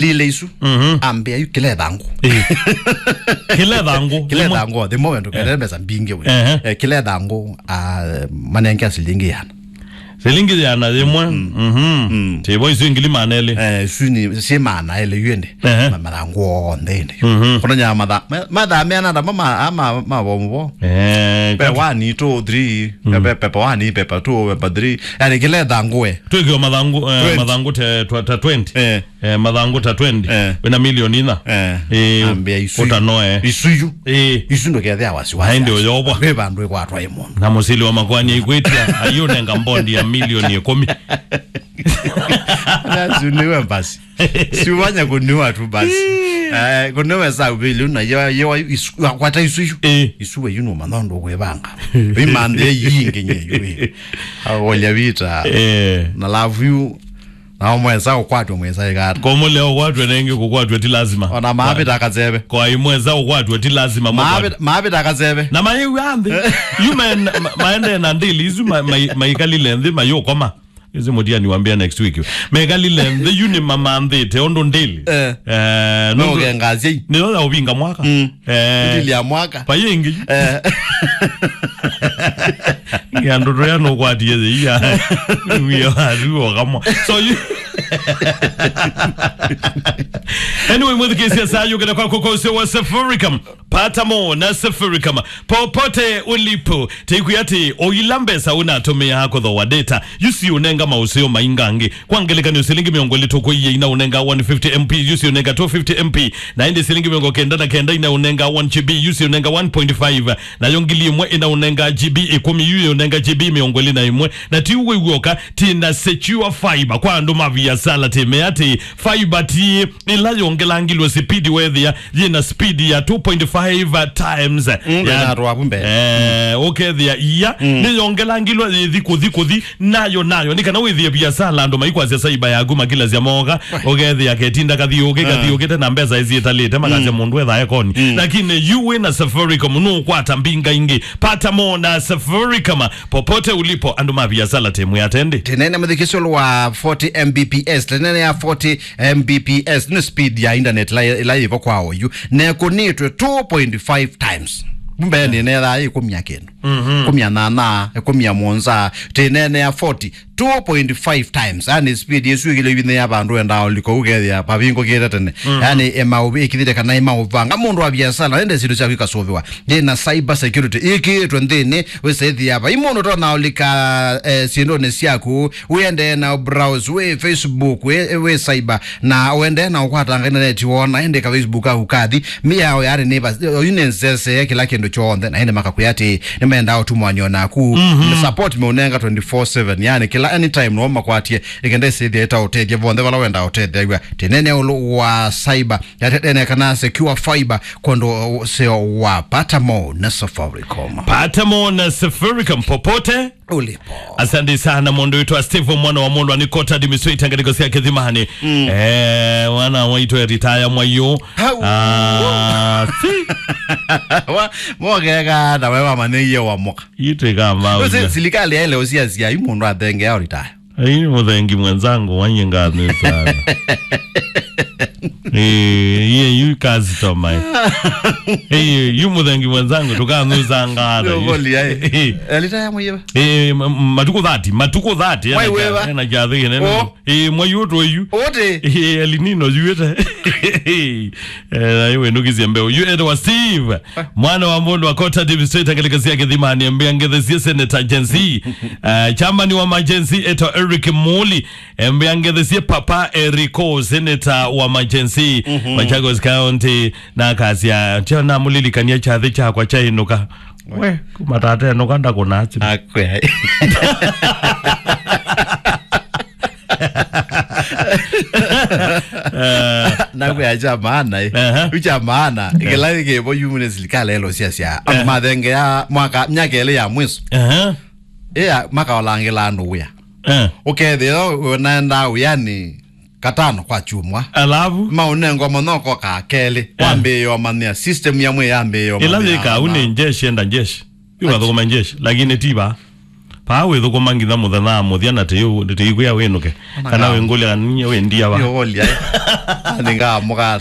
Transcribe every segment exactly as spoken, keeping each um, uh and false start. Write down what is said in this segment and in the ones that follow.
lile isu. Mhm. Ambĩa yu kĩla ĩthangũ. Eh. Kĩla ĩthangũ. Kĩla ĩthangũ, thimo wendo kete mbesa mbingĩ we. Ehe. Eh, kĩla ĩthangũ, ah, manenge silingi yana. Silingi yana yĩmwe. Mhm. Mm. Tivo isu ngili maana elĩ. Eh, isu nĩ si maana elĩ yu ende. Ehe. Ma- mathangũ onthe ende. Mhm. Kono nya matha ma- matha meana ndama ma ama ma bomu bo. Eh, pe kat- one, two, three, mm, pe pepa one, pepa two, pepa three. Yani kĩla ĩthangũ we. Twĩkĩo mathangũ, eh, twende. Mathangũ te twa- ta twenty. Eh. Eh, mathangũ ta twenty. Eh. Wĩna milioni ina. Eh. Eh, ambĩa isu. Ũtanoe. Isu yu. Eh. Isu ndũkethĩa wasiwasi. Aende ũyobwa. Ve vandũ ĩkwatwa ĩ mũndũ. Na mũsili wa makwani aikwĩtia, ayũnenga mbondi ya milioni ĩkũmi. Nasiuniwe basi. Siwanya kuniwa tu basi. Eh, kuniwe sa uvili una yo yo isu, kwata isu yu. Eh. Isu we yu no manondo kwevanga. Imande yingi nye yu. Awolia vita. Eh. Na love you. Na mwesa ukwatwe mwesa igata. Kwa mule ukwatwe nengi kukwatwe ti lazima. Ona maabita akasebe. Kwa imwesa ukwatwe ti lazima. Maabita akasebe. Na mayewi anthi. You men ma- maende na ndili isu ma- ma- maikalile nthi mayukoma. Isi mutia niwambia next week. Mekalile nthi yu ni mamanthite undu ndili. Eh. Eh, no ndu- ugengasia. Ni yo ya uvinga mwaka. Mm. Eh. Ndili ya mwaka. Payingi. Eh. Ya ndoto ya no kwatie ya. Wiyo atu okamwa. So you Anyway, mwithikisia saa yukira kwa kukose wa Safaricom. Pata mo na Safaricom. Popote ulipo, teikwia ati oila mbesa unatumia kuthoa data. Yusi unenga mauseo maingangi. Kwa ngelekany'o, silingi mĩongo ĩlĩ tũkũie ina ũnenga one fifty M P, yusi ũnenga two fifty M P, na ĩndĩ silingi mĩongo kenda na kenda ina ũnenga one G B, yusi ũnenga one point five, nayo ngili ĩmwe ina ũnenga G B ĩkũmi, yu ũnenga G B mĩongo ĩlĩ na ĩmwe. Na ti ũguo w'oka, ti na Secure Fiber kwa andũ ma viasala, tĩmea atĩ fiber ti ĩla yongelangilwe sipidi wethĩa yĩna speed ya two point five times. Mm, ya- na atwavu mbee. Eh, ũkethĩa ia, mm, nĩyongelangilwe yĩthi kũthi kũthi, nayo nayo, nĩ kana wĩthĩe viasala andũ maikwasya saiba yaku makilasya moka, ũkethĩa ketinda kathi ũkĩ, kathi ũkĩte na mbesa ĩsiĩtalĩte, makasya mũndũ ethae koni. Mm. Lakini yu wĩ na Safaricom, nũkwata mbinga ingĩ. Pata mo na Safaricom, popote ulipo, andũ ma viasala tĩmwe atendi. Tĩnene mũthikĩsyo wa forty M B P S, tĩnene ya forty M B P S nĩ speed ya internet ĩla, ĩla yĩvo kwa oyu. Na ĩkũnĩtwe two point five times. Mbee nĩnethaa ĩkũmya kĩndũ. Mhm. Kũmya nana, ĩkũmya mũonza, tĩnene ya forty, two point five times. Yani speed ĩsu ĩkĩlyo ivithĩ ya vandũ wendaa ũliko ũkethĩa pavingũkĩte tene. Mhm. Yani ĩmaũvĩkĩthĩte kana ĩmaũvanga. Mũndũ wa viasala, ende syĩndũ syaku ikasũvĩwa. Yĩna cyber security ĩkĩĩtwe nthĩnĩ, wĩsethĩa vai mũndũ ũtonya ũlika, eh, syĩndũnĩ syaku, wĩendee na browse, wĩ Facebook, wĩ, wĩ cyber, na ũendee na ũkwatanga intaneti wona, ĩndĩ ka Facebook kaku kathi, mĩao yarĩ nĩ va-, oyu nĩ nzesee kĩla kĩndũ kyonthe, na ĩndĩ makakwĩa atĩ nĩmendaa ũtumwanio naku, mhm, support meũnenga twenty-four seven, yani kĩla anytime no makwatie, ĩkenda ĩsĩthĩa ĩtaũtethya vonthe vala wendaa ũtetheew'a. Tĩnene ũlũ wa cyber, yatetene kana Secure Fiber, kondo seo wa Pata mo na Safaricom. Pata mo na Safaricom popote ulipo. Asante sana, mũndũ witũ wa Steve, mwana wa mũndũ anikota administrator katika sia Kithimani. Mm. Eh, wana waitũ ya retire mwayo. Hau. Ah, si. Wa, mogega na wewe wamanyĩie wa moka. Itwe kama. Ose silikali ya ile usia sia mũndũ athenge ya retire. Hii mũthengi mwenzangu, wanyie ngatho sana. Eh, iye yu customer. Eh, yu mũthengi mwenzangu, tũkanũsa ngatho. Ndio goli yae. Eh. Elita ya mwiba. Eh, ma- matukũ thirty, matukũ thirty, ena Mwai kia- weva. Ena kiathĩ kĩnene. Oh. Eh, mwai ũtũ yu. Ote. Eh, El Nino yuĩte. Eh, na iwe nukizie mbeu. Yu etwa Steve. Mwana wa mũndũ wa Kota Deep State, angelekazia Kithimani, ambĩa ngethesie Senator Jensi. Eh, chairman wa Majensi etwa Eric Muli. Ambĩa ngethesie Papa Erico, Senator wa Majensi, mhm, Machakos County. Na akasya, tio namũlilikania kyathĩ kyakwa kyainũka. We, kuma tata enũka ndakũnasi. Akwe. Eh. Nakwĩa kya maana, eh. Aha. Yu kya maana, eh, kĩla kĩvo yu nĩ silikali elo sia sia. Eh. Andũ mathengea mwaka, myaka ĩlĩ ya mwiso. Aha. Ĩa, makaolangĩla andũ wĩa. Eh. Ũkethĩa ũnaenda wĩanĩ katano kwa kyumwa. Alafu? Maũnengwa mũno koka kelĩ. Eh. Wambĩĩo manyĩa system ya mwĩ yambĩĩo. Ĩla manyĩa yĩka au na nĩ njeshi, enda njeshi. Yu kathũkũma njeshi, lakini ti va. Paa wĩthũkũma nginya mũthenya wa mũthya na tĩikwĩa wĩnũke. Kana wĩngũlya ninyie wĩ ndia va. Nĩũkũlya, eh? Nĩngamũka.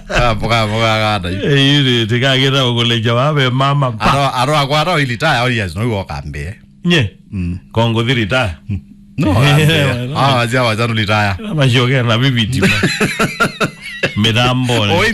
Kamũkamũkakata yu. Ĩĩ, tĩkakĩta ũkũlĩkya wa ve mama. Aro, aro akwata ũilitaya, audience, no iwe ũkambĩe. Nye? Mm. Kongũthi retire? No, ũkambĩe. Ah, wazia wacha nũlitaya. Mashoke na viviti. Mĩtambone. Oi,